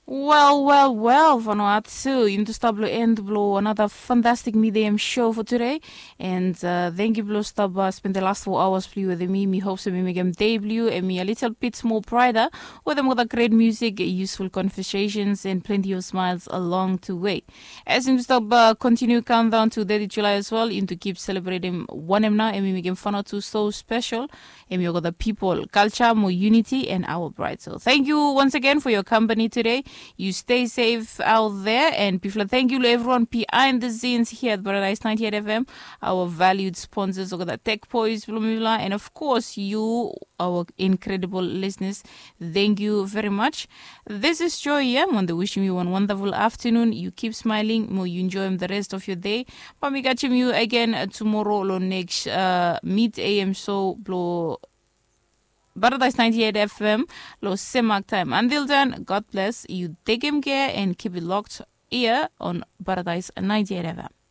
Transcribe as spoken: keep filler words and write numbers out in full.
Wel, wel, wel, Vanuatu, yumi tu stap long end blong another fantastic midday show for today. And uh, thank you blong stap uh, spend the last four hours blong you with me. Mi hope so mi make em day blong you and mi a little bit more brighter with them with a great music, useful conversations, and plenty of smiles along the way. As yumi stap uh, continue countdown to thirty July as well, yumi tu keep celebrating one em now and mi make em fun out to so special. Em yoga the people, culture, more unity, and our pride. So thank you once again for your company today. You stay safe out there, and bifla thank you to everyone behind the scenes here at Paradise ninety-eight F M, our valued sponsors, Oga the Tech Boys, Blumivla, and of course you, our incredible listeners. Thank you very much. This is Joy here. Wanda wishing you one wonderful afternoon. You keep smiling, more you enjoy the rest of your day. But mi catch you again uh, tomorrow lo next uh, mid A M show blo Paradise ninety-eight F M lo same mark time. Until then, God bless. You take him care and keep it locked here on Paradise ninety-eight F M.